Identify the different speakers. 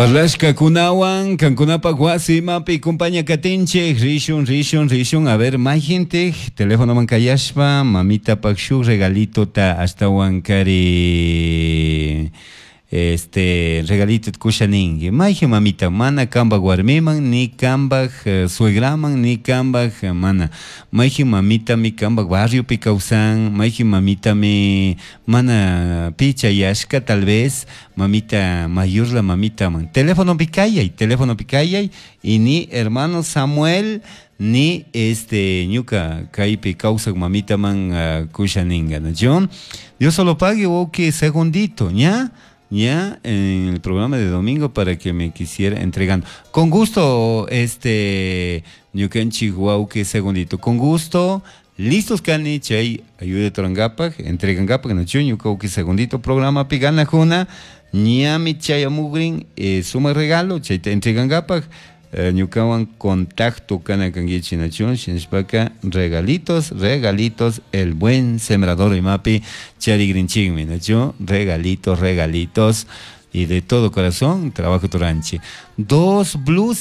Speaker 1: Parlashkakunawan kankunapak wasimapi kumpaña katinchik rishun, rishun, rishun. A ver, mayhintik telefonoman kayashpa mamitapak shuk regalitota ashtawan kari este regalito kusha ninki. Mayhin mamita mana kanpak warmiman ni kanpak suegraman ni kanpak mana. Mayhin mamitami kanpak barriopi kawsan, mayhin mamitami mana pi chayashka tal vez mamita mayorla mamitaman. Telefonopi kayay, telefonopi kayay y ni hermano Samuel ni este ñuka kaypi kawsak mamitaman kusha ninga, ¿no? Dios solo pague, ok, segundito, ¿ya? Ya en el programa de domingo para que me quisiera entregando. Con gusto, este, ñukanchik wawki segundito, con gusto, listos kani chay ayuda turangapak, entregangapak, nachu ñuka wawki segundito programa piganajuna, ñami chayamugrin, suma regalo, chayta entregangapak, ñukawan contacto kana kankichik nachu, shinashpaka regalitos, regalitos, el buen sembrador imapi charigrinchikmi, nachu, regalitos, regalitos, y de todo corazón trabajo turanchi. Dos blues.